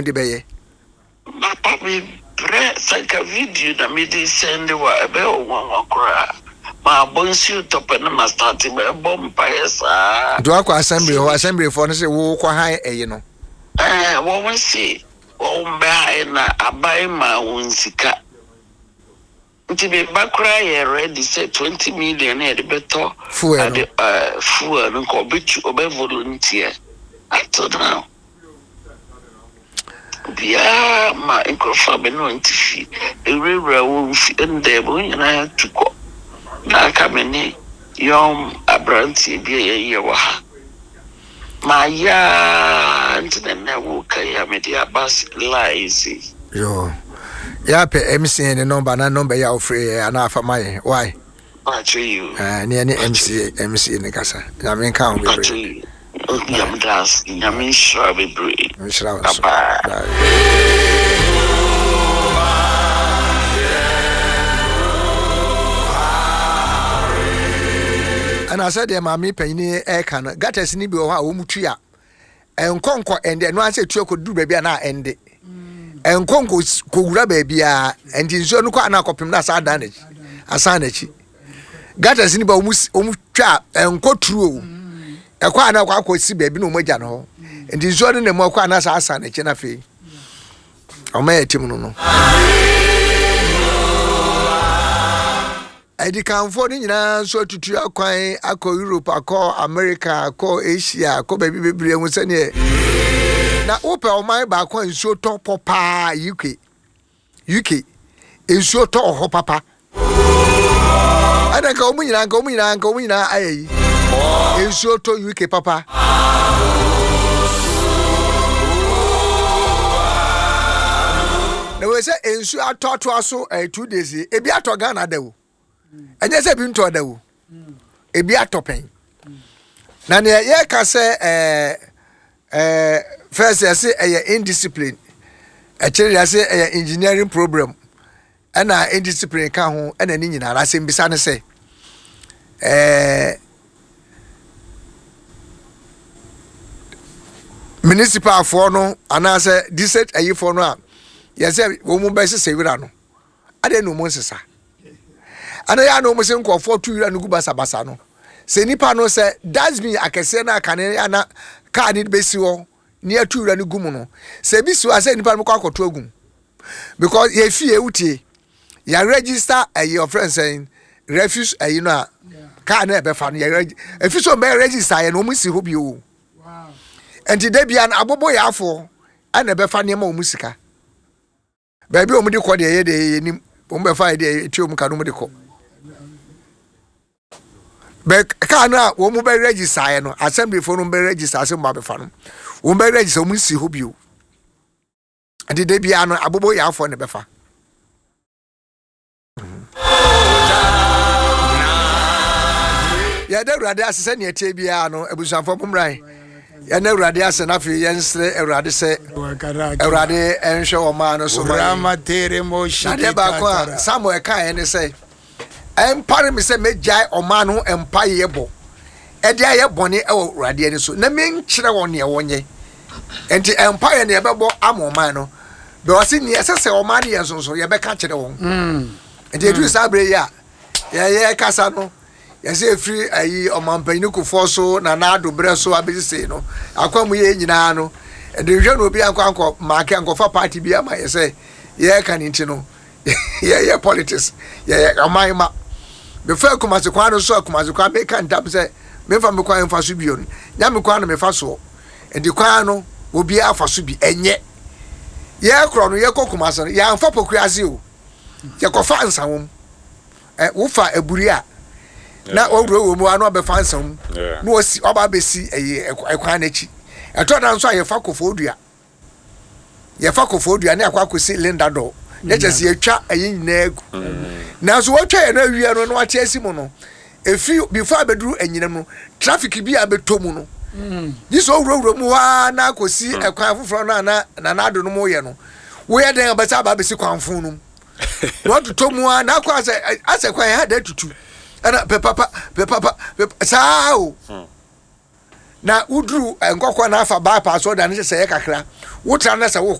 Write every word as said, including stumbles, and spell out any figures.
wɔn de bɛyɛ. Papa, mebrɛ sɛ nka video na mede send wa, ɛbɛyɛ wo nwanwa koraa. Maabɔ nsuo tɔpɛ no, ma start bɛbɔ mpaeɛ saa. Nti wakɔ assembly hɔ, assemblyfoɔ no sɛ wokɔ han ɛyi no? Ɛɛ, wɔn se wɔn bɛhae na aban ma wɔn sika, nti meba koraa yɛ ready sɛ twenty million na yɛde bɛtɔ fuel no. Ade ɛɛ fuel no, nka ɔbɛtu, ɔbɛ volunteer. Up to now obiara ma nkurɔfoɔ a bɛ ne wɔn ti fi ewurawura wɔn fi ndɛm, wɔn nyinaa tu kɔ, na aka me ne yɔn aberanteɛ bi a yɛyɛ wɔ ha. Maa yaa nti na nnɛ wo ka yi a mede aba line si. Yo, yɛapɛ M C N ne number na number yi a wofrɛ yɛ anaa afa ma yɛn why. Mpakyɛ yi o. Eh, ne yɛne M C A M C A ne kasa. Nyame nka ho Mpakyɛ bebree. yi Nyame da ase, Nyame nhyira bebree. Nhyira wo nso. Bye. Bye. Ɛna sɛdeɛ maame panyini ɛka no, gutters ni bi wɔ hɔ a wɔn tu a ɛnkɔ nkɔ ɛnde, ɛno asɛ tu akɔduru baabi a na ɛnde ɛnkɔ nkɔ kɔwura baabi a, ɛnti nsuo no kɔ ana akɔpem na asa adan n'akyi, asan n'akyi. Gutters ni ba wɔn si- wɔn twa a ɛnkɔ turu o, ɛkɔ ana akɔ akɔsi baabi na wɔn agya no hɔ, nti nsuo no na mu akɔ ana asa asan n'akyi, na afei ɔmo yɛ tim no no Adikanfoɔ no nyinaa nso atutu akwan akɔ Europe, akɔ America, akɔ Asia, akɔ baabi bebree ho. Sɛneɛ na wopɛ ɔman baako a nsuo tɔ pɔ paa, U K. U K nsuo tɔ wɔ hɔ papa. Ɛna nka wɔn nyinaa nka wɔn nyinaa nka wɔn nyinaa ayɛ yi, nsuo tɔ U K papa. Na wɔ sɛ nsuo atɔ atoa so ɛyɛ two days yi, ebi atɔ Ghana da o, ɛnyɛ sɛ ebi ntɔ da o, ebi atɔ pɛn. Na nea yɛka sɛ ɛɛ ɛɛ first yɛsɛ ɛyɛ indiscipline, ɛkyerɛ yɛsɛ ɛyɛ engineering problem, ɛna indiscipline ka ho, ɛna ne nyinaa asɛm bisa ne sɛ ɛɛ municipalfoɔ no anaasɛ district ayifoɔ no a yɛsɛ wɔn mu bɛsesa wira no, adeɛ na wɔn nsesa ana yɛ ana wɔn sɛ nkurɔfoɔ tu wira no gu basabasa no, sɛ nipa no sɛ dustbin akɛseɛ no akane ana kaa ne bɛsi hɔ ne atu wira no gu mu no, sɛ ebi si hɔ a, sɛ nipa no kɔ akɔto agu mu, because yɛ fie wutie yɛ register ɛyi ɔfrɛ nsɛn refuse ɛyi no a kaa no ɛbɛfa no, yɛ reg efi so mbɛ register yɛ no, wɔn si hɔ bio. Nti de bia no abobo yɛ afoɔ ɛna ɛbɛfa nneɛma wɔn sika baabi a wɔn de kɔ deɛ, yɛ deɛ yɛ nim wɔn bɛfa yɛ deɛ etua wɔn ka no, wɔn de kɔ bɛ kaa no a wɔn bɛ register yɛ no, assemblyfoɔ no bɛ register asɛ wɔn abɛfa no, wɔn bɛ register, wɔn si hɔ bio. Nti de bia no abobo yɛ afoɔ na ɛbɛfa. Yɛda Awurade ase sɛ neɛ tie biara no, abusuafoɔ, mommra yɛne Awurade ase, na afei yɛnsrɛ Awurade sɛ Awurade ɛnhwɛ ɔmaa no so ma yɛn. Na adeɛ baako a Samuel kaeɛ ne sɛ, ɛmpare me sɛ mɛgyae ɔmaa no ho mpayɛ bɔ ɛde ayɛ bɔne ɛwɔ Awurade ani so na menkyerɛ wɔn neɛ wɔnyɛ. Nti mpaeɛ ne yɛbɛbɔ ama ɔman no bɛ, ɔse neɛ ɛsɛ sɛ ɔman no yɛ nsonso, yɛbɛka kyerɛ wɔn. Nti ɛduru saa berɛ yi a yɛyɛ kasa no, yɛsɛ ɛfiri ayi ɔmampanyini Kufoɔ so na naado berɛ so abɛsi sei no, akwa mu yɛ nyinaa no, ɛde nhwɛ no obi ankɔ ankɔ maake ankɔfa party bi ama yɛ sɛ yɛreka ne nti no, yɛyɛ politics, yɛyɛ ɔman ma mefa Kumase kwan no so a, Kumase kwan meka ntam sɛ memfa me kwan mfa so bio no, nya me kwan no mefa soɔ. Nti kwan no obiara fa so bi, ɛnyɛ yɛkorɔ no, yɛkɔ Kumase no, yɛamfa Pokuase o, yɛkɔfa Nsawom. Ɛ wofa Aburi a na wɔwura wɔ mu a na wɔbɛfa Nsawom Yeah. na wɔsi ɔba abɛsi ɛyɛ ɛkwan n'akyi. Ɛtɔ da nso a yɛfa Kofo Dua, yɛfa Kofo Dua ne akɔ akɔsi Linda Dɔ ne kyɛ sɛ yɛtwa ɛyi nyinaa gu. Nanso wɔtwa yɛn no awie no na wɔate asi mu no, efi before abɛduru anyinam no, traffic bi a abɛtɔ mu no gye sɛ owurawura mu hɔ ara na akɔsi ɛkwan foforɔ no a na Nana Ado no mu yɛ no, woyɛ dɛn abɛsɛ aba abɛsi kwan fon no mu na watotɔ mu a na akɔ asɛ asɛ kwan ha da tutu ɛna pɛ papa pɛ papa pɛ saa o. Na woduru Nkɔkɔ na afa bypass ɔda no sɛ sɛ yɛ kakra wotra na sɛ wokɔ.